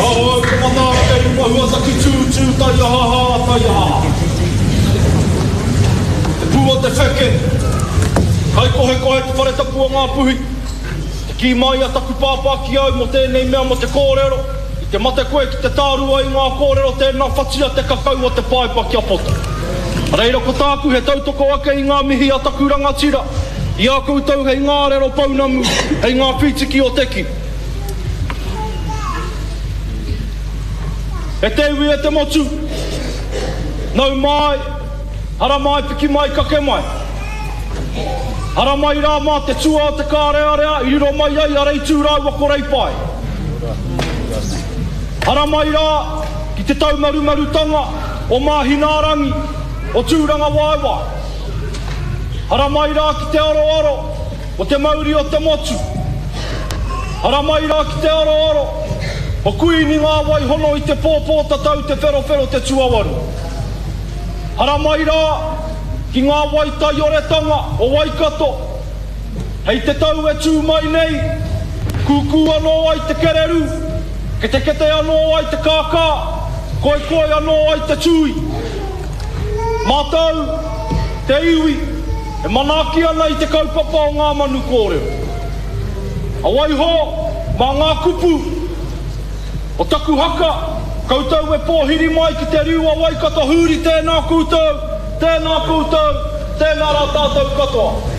Aho au te mataara kei runga huataki tū, tū taiahaha, taiahaha. Te pū o te wheke, Kaikohekohe te whare tapu o Ngāpuhi. Te kī mai a taku pāpā ki au mō tēnei mea mō te kōrero, i te mate koe ki te tārua i ngā kōrero tēnā whatia te kakau o te paepa kia poto. Reira ko tāku he tautoko ake i ngā mihi a taku rangatira, i a koutou hei ngā arero pounamu, hei ngā whītiki o te ki. E te iwi e te motu, nau mai, haramai piki mai kake mai. Haramai rā mā te tua o te kārearea i riro mai ai a Reitū rāua ko Reipae. Haramai rā ki te taumarumarutanga o Māhinaarangi, o Tūrangawaewae. Haramai rā ki te aroaro o te mauri o te motu. Haramai rā ki te aroaro o Kuini ngā wai hono i te pō pōtatau te wherowhero te tuawaru. Haramai rā ki ngā wai taioretanga o Waikato. Hei te tau e tū mai nei, kūkū anō ai te kererū, ketekete anō ai te kākā, koekoi anō ai te tūī. Mātou, te iwi, e manaaki ana i te kaupapa o ngā manu kōrero. A waiho, mā ngā kupu o taku haka, koutou e pōhiri mai ki te riu o Waikato hūri tēnā koutou, tēnā koutou, tēnā rā tātou katoa.